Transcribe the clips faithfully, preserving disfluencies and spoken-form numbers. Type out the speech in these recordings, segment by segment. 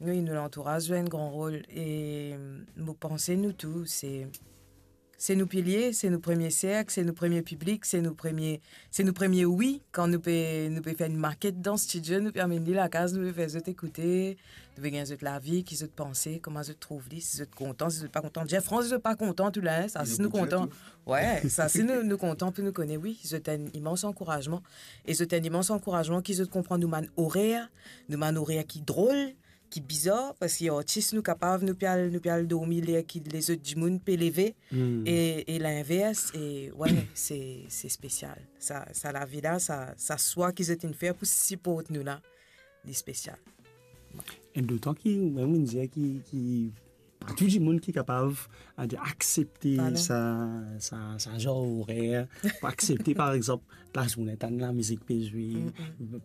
Wi, nou lantouraz zwe enn gran rol e mo panse nou tou, se, se nou pilie, se nou premie serk, se nou premie piblik, se nou premie, se nou premie wi. Kan nou pe, nou pe fer enn maket dan stidio, nou pe amenn li lakaz, nou pe fer zot ekoute, nou pe gagn zot lavi, ki zot panse, kouma zot trouv li, si zot kontan, si zot pa kontan. Jeff France, si zot pa kontan, tou la, sa, si nou kontan. Wi, sa, si nou, nou kontan pou nou kone, wi, zot enn imans ankourazman. E zot enn imans ankourazman ki zot konpran nou bann orer, nou bann orer ki drol, ki bizar, parski artis nou kapav, nou pe al, nou pe al dormi ler ki lezot dimoun pe leve, e, e linvers, e, wi, se, se spesial. Sa, sa lavi la, sa, sa swa ki zot inn fer pou siport nou la, li spesial. E dotan ki, mem, mo dir ki, ki pa tou dimoun ki kapav, a dir, aksepte sa, sa, sa zanr orer, pou aksepte, par exanp, lazourne tann lamizik pe zwe.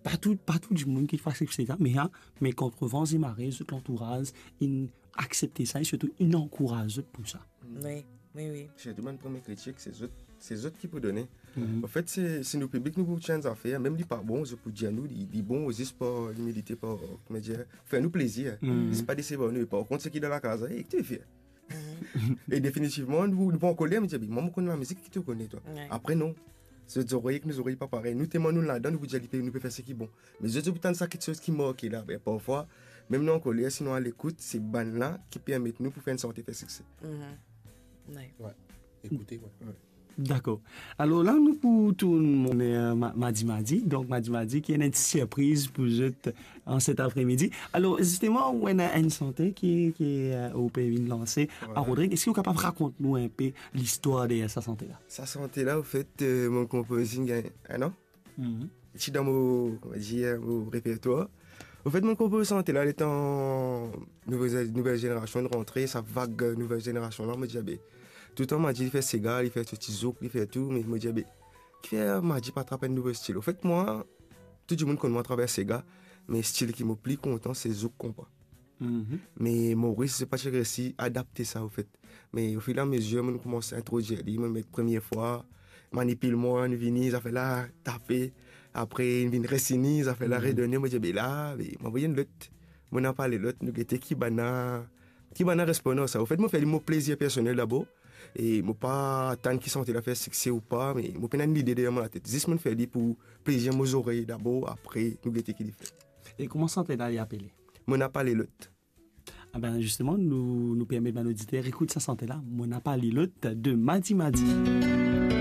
Pa tou, pa tou dimoun ki pou aksepte sa, me, a, me kont van e mare, zot lantouraz, inn aksepte sa, e sirtou inn ankouraz zot pou sa. Wi, wi, wi. Sirtou bann premie kritik, se zot, se zot ki pou done. Anfet, se, se nou piblik, nou pou tir enn zafer, mem li pa bon, zot pou dir nou, li, li bon, zis par imilite, par, kouma dir, fer nou plezir. Zis pa desevar nou, e par kont, seki dan lakaz, e ki to fer? E definitivman, nou, nou pa ankoler, mo dir, "Be, mwa, mo konn lamizik, ki to kone, twa?" Apre, non. Zot zorey ek nou zorey pa parey. Nou telman nou ladan, nou pou dir, "Li pe, nou pe fer seki bon." Me zot, zot pou tann sa kiksoz ki marke la. Be, parfwa, mem nou ankoler, si nou alekout, se bann la ki permet nou pou fer enn sante fer sikse. Wi. Ekoute, wi. Dakor. Alor la, nou pou tourn, mon, euh, ma-, Madi Madi. Donk, Madi Madi, ki ena enn ti sirpriz pou zot an set apremidi. Alor, zisteman, ou ena enn sante ki, ki, euh, ou pe vinn lanse. Wi. A Rodrig, eski ou kapav rakont nou enpe listwar deryer sa sante la? Sa sante la, anfet, euh, mo konpoz li gagn enn an. Ti dan mo, on va dire, mo repertwar. Anfet, mo konpoz sante la, letan nouvel, nouvel zenerasion rantre, sa vag nouvel zenerasion la, mo dir, be, toutan Madi li fer sega, li fer so ti zouk, li fer tou, me mo dir, be, kifer Madi pa trap enn nouvo stil? Anfet, mwa, tou dimoun konn mwa atraver sega, me stil ki mo pli kontan, se zouk konpa. Me Moris, zot pa ti resi adapte sa, anfet. Me ofiramezir, mo koumanse introdwir li, mo met premie fwa, manipil mwa, inn vini, zafer la tape, apre inn vinn resini, zafer la redone, mo dir, be la, be, mo avoy enn lot, mo ena pale lot, nou gete ki bann la, ki bann la responn ar sa. Anfet, mo fer li mo plezir personel dabor, e mo pa tann ki sante la fer sikse ou pa, me mo pena enn lide deryer mo latet. Zis mo fer li pou plezir mo zorey dabor, apre nou gete ki li fer. E kouma sante la li apele? Mo ena pale lot. Ah ben, zisteman, nou, nou permet bann oditer ekout sa sante la, Mo ena pale lot, de Madi Madi.